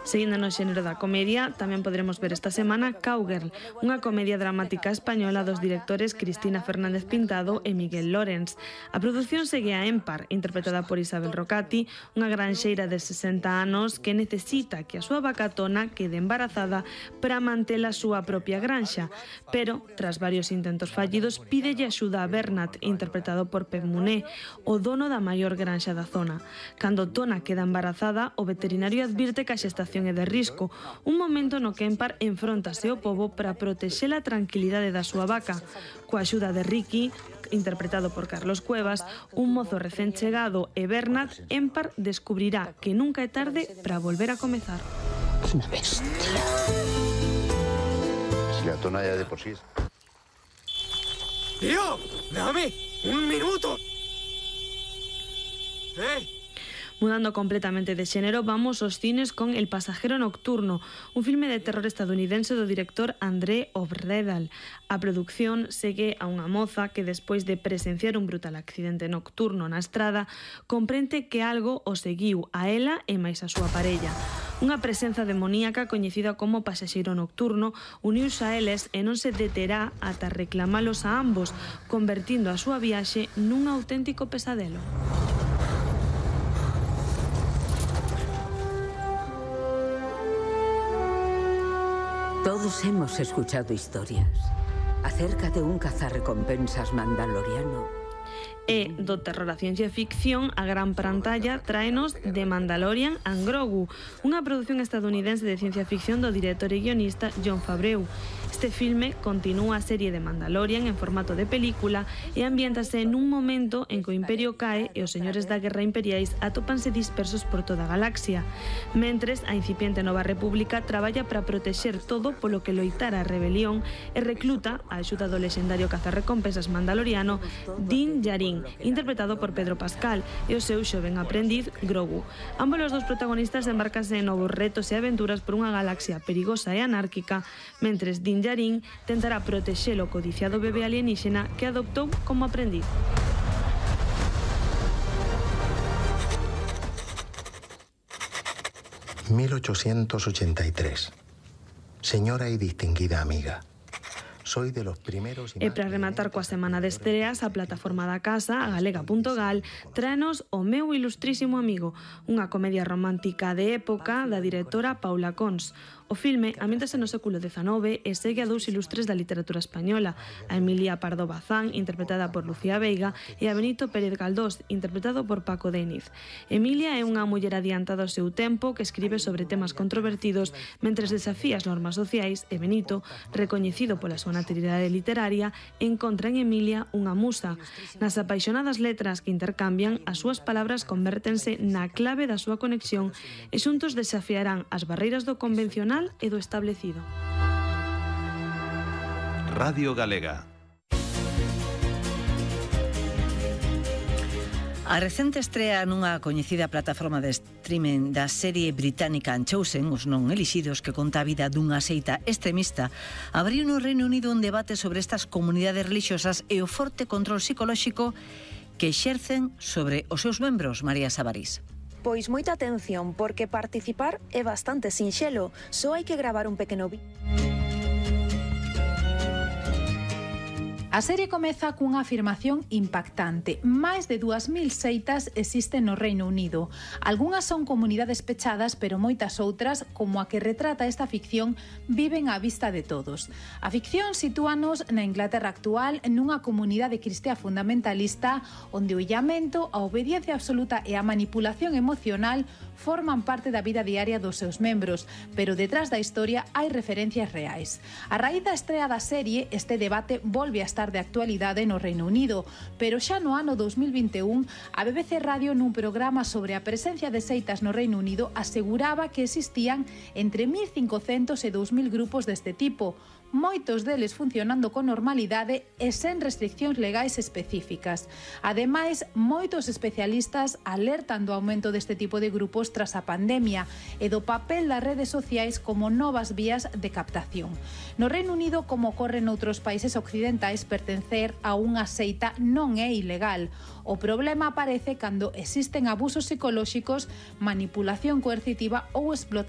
Seguindo no xénero da comedia, tamén poderemos ver esta semana Cowgirl, unha comedia dramática española dos directores Cristina Fernández Pintado e Miguel Lorens. A produción segue a Empar, interpretada por Isabel Rocati, unha granxeira de 60 anos que necesita que a súa vacatona quede embarazada para manter a súa propia granxa, pero, tras varios intentos fallidos, pídelle axuda a Bernat, interpretado por Pep Muné, o dono da maior granxa da zona. Cando Tona queda embarazada, o veterinario advirte que a xestación é de risco, un momento no que Empar enfróntase ao pobo para protexer a tranquilidade da súa vaca. Coa axuda de Ricky, interpretado por Carlos Cuevas, un mozo recén chegado e Bernat, Empar descubrirá que nunca é tarde para volver a comezar. Una bestia. Si la Tona ya de por sí... ¡Tío! ¡Dame un minuto! ¡Hey! Mudando completamente de xénero, vamos aos cines con El pasajero nocturno, un filme de terror estadounidense do director André Obredal. A produción segue a unha moza que, despois de presenciar un brutal accidente nocturno na estrada, comprende que algo o seguiu a ela e máis a súa parella. Unha presenza demoníaca coñecida como pasaxeiro nocturno uniuse a eles e non se deterá ata reclamalos a ambos, convertindo a súa viaxe nun auténtico pesadelo. Todos hemos escuchado historias acerca de un cazarrecompensas mandaloriano. E do terror a ciencia ficción, a gran pantalla tráenos The Mandalorian and Grogu, unha produción estadounidense de ciencia ficción do director e guionista Jon Favreau. Este filme continúa a serie de Mandalorian en formato de película e ambiéntase nun momento en que o Imperio cae e os señores da guerra imperiais atópanse dispersos por toda a galaxia. Mentres, a incipiente Nova República traballa para protexer todo polo que loitar a rebelión e recluta a axuda do lexendario cazarrecompensas mandaloriano Din Djarin, interpretado por Pedro Pascal, e o seu xoven aprendiz Grogu. Ambos os dos protagonistas embarcanse en novos retos e aventuras por unha galaxia perigosa e anárquica, mentres Din Djarin tentará protexer o codiciado bebé alienígena que adoptou como aprendiz. «1883. Señora y distinguida amiga, soy de los primeros... E para rematar coa semana de estreas, a plataforma da casa, a galega.gal, tráenos O meu ilustrísimo amigo, unha comedia romántica de época da directora Paula Cons. O filme ambiéntase no século XIX e segue a dous ilustres da literatura española, a Emilia Pardo Bazán, interpretada por Lucía Veiga, e a Benito Pérez Galdós, interpretado por Paco Déniz. Emilia é unha muller adiantada ao seu tempo que escribe sobre temas controvertidos mentres desafía as normas sociais e Benito, recoñecido pola súa naturalidade literaria, encontra en Emilia unha musa. Nas apaixonadas letras que intercambian, as súas palabras convértense na clave da súa conexión e xuntos desafiarán as barreiras do convencional e do establecido. Radio Galega. A recente estrea nunha coñecida plataforma de streaming da serie británica Unchosen, os non elixidos, que conta a vida dunha seita extremista, abriu no Reino Unido un debate sobre estas comunidades religiosas e o forte control psicolóxico que exercen sobre os seus membros. María Sabarís. Pois moita atención, porque participar é bastante sinxelo, só hai que gravar un pequeno vídeo. A serie comeza cunha afirmación impactante. Máis de 2000 seitas existen no Reino Unido. Algúnas son comunidades pechadas, pero moitas outras, como a que retrata esta ficción, viven á vista de todos. A ficción sitúanos na Inglaterra actual, nunha comunidade cristiá fundamentalista, onde o illamento, a obediencia absoluta e a manipulación emocional forman parte da vida diaria dos seus membros, pero detrás da historia hai referencias reais. A raíz da estrea da serie, este debate volve a estar de actualidade no Reino Unido, pero xa no ano 2021 a BBC Radio nun programa sobre a presencia de seitas no Reino Unido aseguraba que existían entre 1.500 e 2.000 grupos deste tipo, moitos deles funcionando con normalidade e sen restriccións legais específicas. Ademais, moitos especialistas alertan do aumento deste tipo de grupos tras a pandemia e do papel das redes sociais como novas vías de captación. No Reino Unido, como ocorre noutros países occidentais, pertencer a unha seita non é ilegal. O problema aparece cando existen abusos psicolóxicos, manipulación coercitiva ou explotación